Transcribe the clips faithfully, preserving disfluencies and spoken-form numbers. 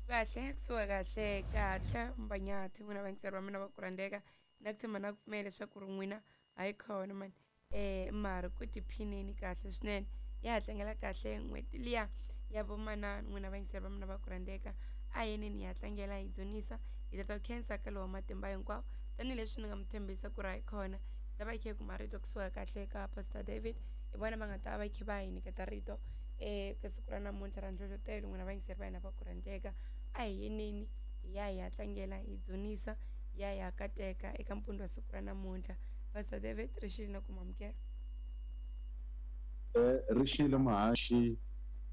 Kahle kusuka kahle kahle Mbanyati n'wina vayingiseri va mina va ku rhandzeka na ku tshemba na ku pfumela leswaku ri n'wina hayi khona mani um mara ku tiphineni kahle swinene ya ha tlangela kahle n'hweti liya ya vomanana n'wina vayingiseri va mina va ku rhandzeka a yeneni hi ya tlangela hi dzunisa hi ta ta ku khensa ka lowa matimba hinkwawo tanihileswi ni nga mi tshembisa ku ri hayi khona hi ta va hi kha hi kuma rito kusuka kahle ka Pastor David hi vona va nga ta va kha va hi nyiketa rito um ka siku ra namuntlha ra nhlohlotelo n'wina vayingiseri va hina va ku rhandzeka a hi yeneni hi ya hi ya tlangela hi dzunisa hi ya hi ya kateka eka mpundzu wa siku ra namuntlha. Pastor David ri xile na ku mamukela. Eh ri xile muhaxi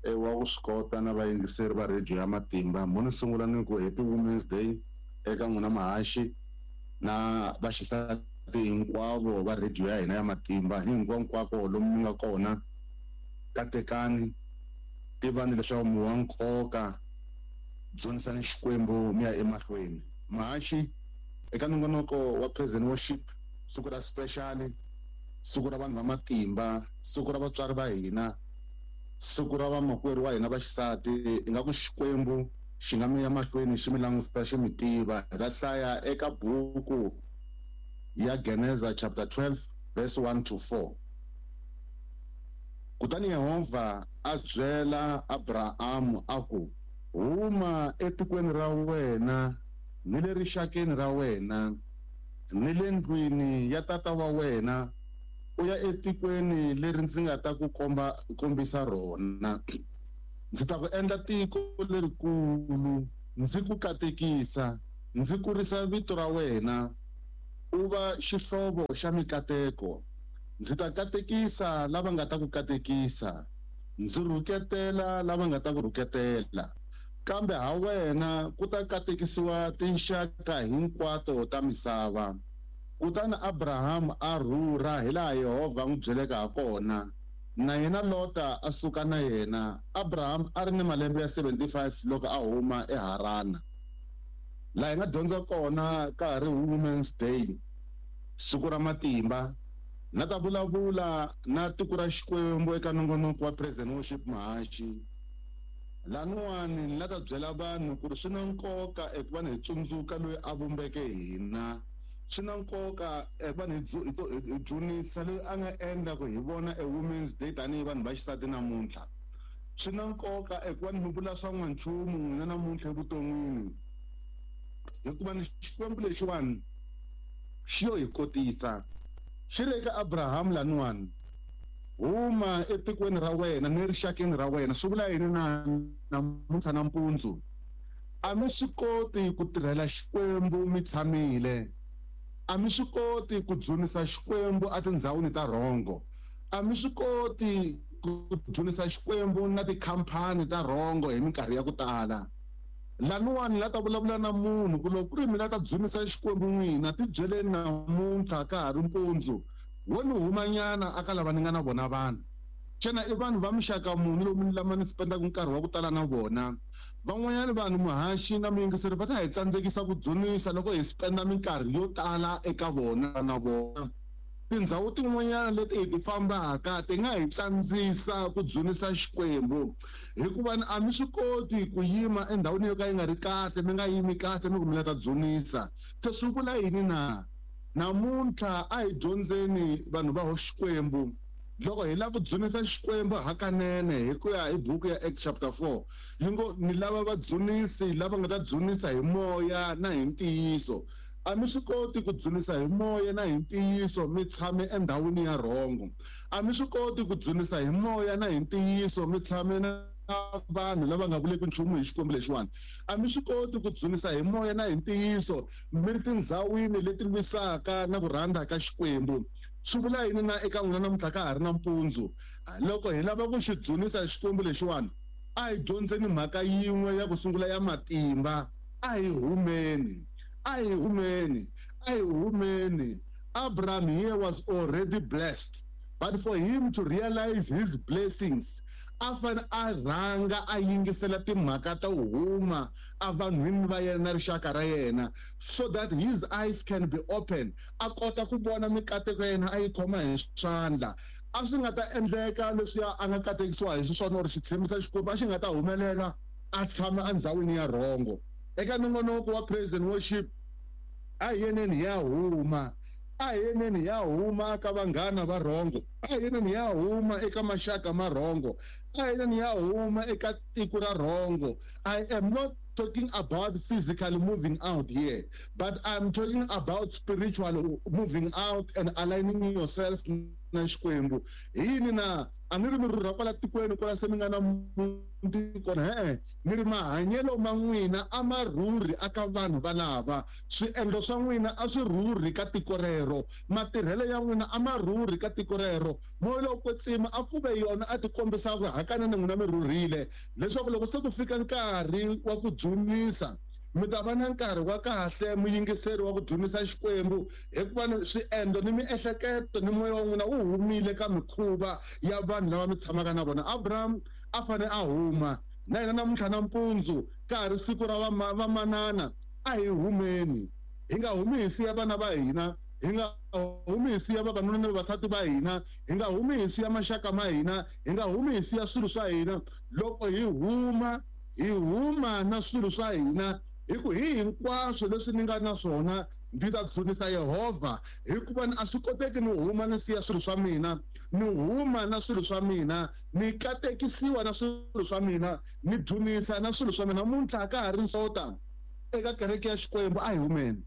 wa ku swi kota na vayingiseri va radio ya Matimba. Mo ni sungula ni ku Happy Women's Day eka n'wina muhaxi na vaxisati hinkwavo va radio ya hina ya Matimba hinkwako lomu mi nga kona. Katekani, tivani leswaku mi wa nkoka, dzunisani Xikwembu mi ya emahlweni. Muhaxi eka nongonoko wa Praise and Worship, siku ra special, siku ra vanhu va matimba, siku ra vatswari va hina, siku ra vamakwerhu wa hina va xisati, ingaku Xikwembu xi nga mi ya mahlweni xi mi langutisa xi mi tiva. Hi ta hlaya eka buku ya Geneza chapter twelve verse one to four. Kutani Yehovha a byela Abrahamu a ku, huma etikweni ra wena ni le rixakeni ra wena ni le ndlwini ya tata wa wena, u ya etikweni leri ndzi nga ta ku komba kombisa rona. Ndzi ta ku endla tiko lerikulu, ndzi ku katekisa, ndzi kurisa vito ra wena, u va xihlovo xa mikateko. Ndzi ta katekisa lava nga ta ku katekisa, ndzi rhuketela lava nga ta ku rhuketela. Kambe ha wena ku ta katekisiwa tinxaka hinkwato ta misava. Kutani Abraham a rhurha hilaha Yehovha a n'wi byeleke ha kona, na yena Lota a suka na yena. Abraham a ri ni malembe ya seventy-five loko a huma eHarana. Laha hi nga dyondza kona ka ha ri Women's Day, siku ra matimba, na ta vulavula na tiko ra Xikwembu eka nongonoko wa Praise and Worship muhaxi. Laniwani ni la ta byela vanhu ku ri swi na nkoka eku va ni hi tsundzuka loyi a vumbeke hina. Swi na nkoka eku va ni hi dzunisa loyi a nga endla ku hi vona e Women's Day tanihi vanhu va xisati namuntlha. Swi na nkoka eku va ni mi vula swa n'wanchumu n'wina namuntlha evuton'wini, hikuva ni Xikwembu lexiwani xi yo hi kotisa. Xi ri eka Abraham laniwani, huma etikweni ra wena ni rixakeni ra wena. Swi vula yini na namuntlha nampundzu? A mi swi koti ku tirhela Xikwembu mi tshamile. A mi swi koti ku dzunisa Xikwembu etindhawini ta rhongo. A mi swi koti ku dzunisa Xikwembu na tikhampani ta rhongo hi minkarhi ya ku tala. Laniwani la ta vulavula na munhu ku loko ku ri mina ta dzunisa Xikwembu n'wina, tibyeleni namuntlha ka ha ri mpundzu, wo ni humanyana aka lava ni nga na vona vanhu. Xana i vanhu va muxaka muni lomu ni lama ni spendaka nkarhi wa ku tala na vona? Van'wanyana vanhu muhaxi na muyingiseri va ta hi tsandzekisa ku dzunisa loko hi spenda minkarhi yo tala eka vona na vona. Tindhawu tin'wanyana leti hi ti fambaka ti nga hi tsandzisa ku dzunisa Xikwembu, hikuva a mi swi koti ku yima endhawini yo ka yi nga ri kahle, mi nga yimi kahle mi ku mi la ta dzunisa. Se swi vula yini na? Namuntlha a hi dyondzeni vanhu va Xikwembu. Loko hi lava ku dzunisa Xikwembu hakanene hi ku ya hi buku ya Acts chapter four, yi ngo ni lava vadzunisi lava nga ta dzunisa hi moya na hi ntiyiso. A mi swi koti ku dzunisa hi moya na hi ntiyiso mi tshame endhawini ya rhongo. A mi swi koti ku dzunisa hi moya na hi ntiyiso mi tshame na vanhu lava nga vuleki nchumu hi Xikwembu lexiwani. A mi swi koti ku dzunisa hi moya na hi ntiyiso mi ri tindhawini leti lwisaka na ku rhandza ka Xikwembu. Swi vula yini na eka n'wina namuntlha ka ha ri na mpundzu? Loko hi lava ku xi dzunisa Xikwembu lexiwani, a hi dyondzeni mhaka yin'we ya ku sungula ya matimba. A hi humeni, a hi humeni, a hi humeni. Abraham here was already blessed, but for him to realize his blessings, a fanele a rhanga a yingisela timhaka ta huma evanhwini va yena na rixaka ra yena, so that his eyes can be open, a kota ku vona mikateko ya yena a yi khoma hi swandla. A swi nga ta endleka leswiya a nga katekisiwa hi xiswona or xitshembiso xa Xikwembu a xi nga ta humelela a tshama endzhawini ya rhongo. Eka nongonoko wa praise and worship a hi yeneni ya huma, a hi yeneni ya huma ka vanghana va rhongo, a hi yeneni ya huma eka maxaka ma rhongo, a hi yeneni ya huma eka tiko ra rhongo. I am not talking about physically moving out here, but I'm talking about spiritual moving out and aligning yourself na Xikwembu. Hi yini na a ni ri mi rhurha kwala tikweni kwala se mi nga na muti kona, he-e ni ri mahanyelo ma n'wina a ma rhurhi aka vanhu valava, swiendlo swa n'wina a swi rhurhi ka tiko rero, matirhelo ya n'wina a ma rhurhi ka tiko rero. Moya lowo kwetsima a ku ve yona a ti kombisa ku hakanene n'wina mi rhurhile, leswaku loko se ku fika nkarhi wa ku dzunisa mi ta va na nkarhi wa kahle muyingiseri wa ku dzunisa Xikwembu, hikuva swiendlo ni miehleketo ni moya wa n'wina wu humile ka mikhuva ya vanhu lava mi tshamaka na vona. Abraham a fane a huma na hina namuntlha nampundzu ka ha ri siku ra vamanana, a hi humeni, hi nga humi hi siya vana va hina, hi nga humi hi siya vavanuna ni vavasati va hina, hi nga humi hi siya maxaka ma hina, hi nga humi hi siya swilo swa hina. Loko hi huma hi huma na swilo swa hina, hi ku hi hinkwaswo leswi ni nga na swona ndzi ta dzunisa Yehovha, hikuva a swi koteki ni huma ni siya swilo swa mina, ni huma na swilo swa mina, ni katekisiwa na swilo swa mina, ni dzunisa na swilo swa mina. Namuntlha ka ha ri nsota eka kereke ya Xikwembu, a hi humeni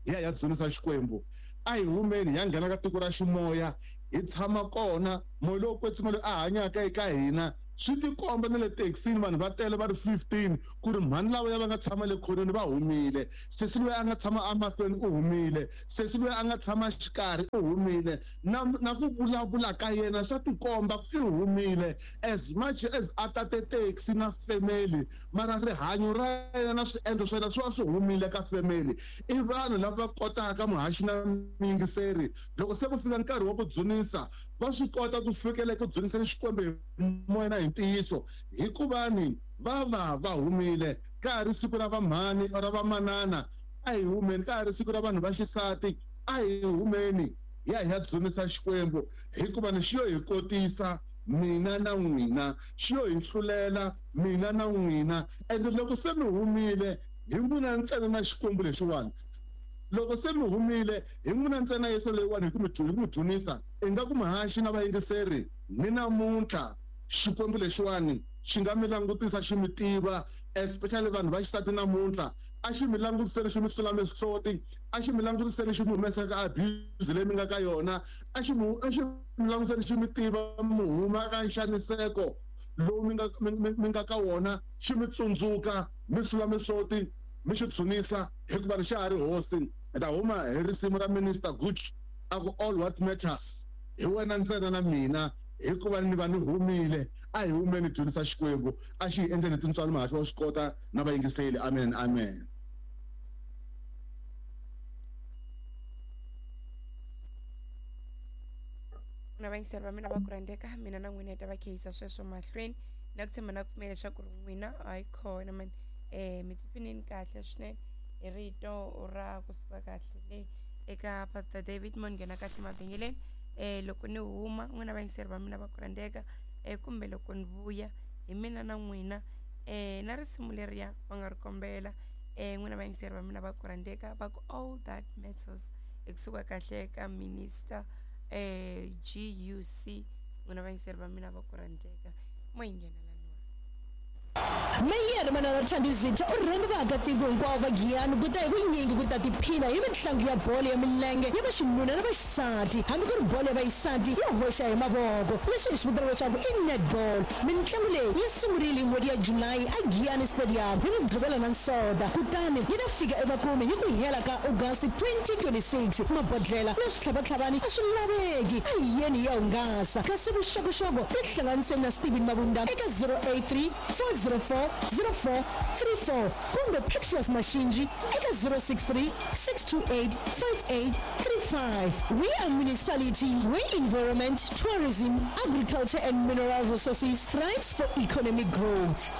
hi ya hi ya dzunisa Xikwembu, a hi humeni hi ya nghena ka tiko ra ximoya, hi tshama kona. Moya lowo kwetsima loyi a hanyaka eka hina swi tikomba na le taxini vanhu va tele va ri fifteen ku ri mhani lava ya va nga tshama le khoneni va humile, sesi loyi a nga tshama emahlweni u humile, sesi loyi a nga tshama xikarhi u humile, na na ku vulavula ka yena swa tikomba ku i humile. As much as a tate taxi na family, mara rihanyo ra yena na swiendlo swa yena swi va swi humile ka family. I vanhu lava kotaka muhaxi na muyingiseri, loko se ku fika nkarhi wa ku dzunisa va swi kota ku fikela ku dzuniseni Xikwembu hi moya na hi ntiyiso, hikuva ni va va va humile. Ka ha ri siku ra vamhani ra vamanana, a hi humeni. Ka ha ri siku ra vanhu va xisati, a hi humeni hi ya hi ya dzunisa Xikwembu, hikuva ni xi yo hi kotisa mina na n'wina, xi yo hi hlulela mina na n'wina. Ende loko se mi humile hi n'wina ntsena na Xikwembu lexiwani, loko se mi humile hi n'wina ntsena Yesu leyiwani hi ku mi hi ku mi dzunisa, ingaku muhaxi na vayingiseri ni namuntlha Xikwembu lexiwani xi nga mi langutisa xi mi tiva, especially vanhu va xisati namuntlha, a xi mi langutiseni xi mi sula mihloti, a xi mi langutiseni xi mi humesa ka abuse leyi mi nga ka yona, a xi mi a xi mi langutiseni xi mi tiva mi huma ka nxaniseko lowu mi nga mi nga ka wona, xi mi tsundzuka mi sula mihloti mi xi dzunisa, hikuva ni xa ha ri hosi. Hi ta huma hi risimu ra Minister Gucci a ku all what matters hi wena ntsena na mina, hikuva ni va ni humile. A hi humeni dzunisa Xikwembu, a xi hi endleni tintswalo muhaxi wa swi kota na vayingiseli. Amen, amen. Na vayingiseri va mina va ku rhandzeka, mina na n'wina hi ta va khehisa sweswo mahlweni na ku tshemba na ku pfumela leswaku ri n'wina a yi kona mani um mi tiphinini kahle swinene hi rito ra kusuka kahle le eka Pastor David mo nghena kahle mavhengeleni. Eh loko ni huma n'wina vayingiseri va mina va ku rhandzeka, eh kumbe loko ni vuya hi mina na n'wina eh na risimu leriya va nga ri kombela eh n'wina vayingiseri va mina va ku rhandzeka, va ku all that matters ekusuka kahle ka Minister eh G U C. N'wina vayingiseri va mina va ku rhandzeka, mo yi nghena. Meyara Manana Thandizitha u rhamba vaakatiko hinkwavo va Giyani ku ta hi vunyingi ku ta tiphina hi mitlangu ya bolo ya milenge ya vaxinuna na vaxisati, hambi ku ri bolo ya vaxisati yo hoxa hi mavoko, leswi hi swi vitanaka leswaku i netball. Mitlangu leyi yi sungurile hi n'hweti ya Julayi a Giyani Stadium hi Mugqivela na Nsoda, kutani yi ta fika emakumu hi ku hela ka August twenty twenty-six. Mabodlela na switlhavatlhavani a swi laveki, a hi yeni hi ya hungasa. Kasi vuxokoxoko tihlanganiseni na Steven Mabunda eka zero eight three four zero four zero four three four kumbe Petrus Mashinji eka zero six three six two eight five eight three five. We are municipality where environment, tourism, agriculture and mineral resources thrives for economic growth.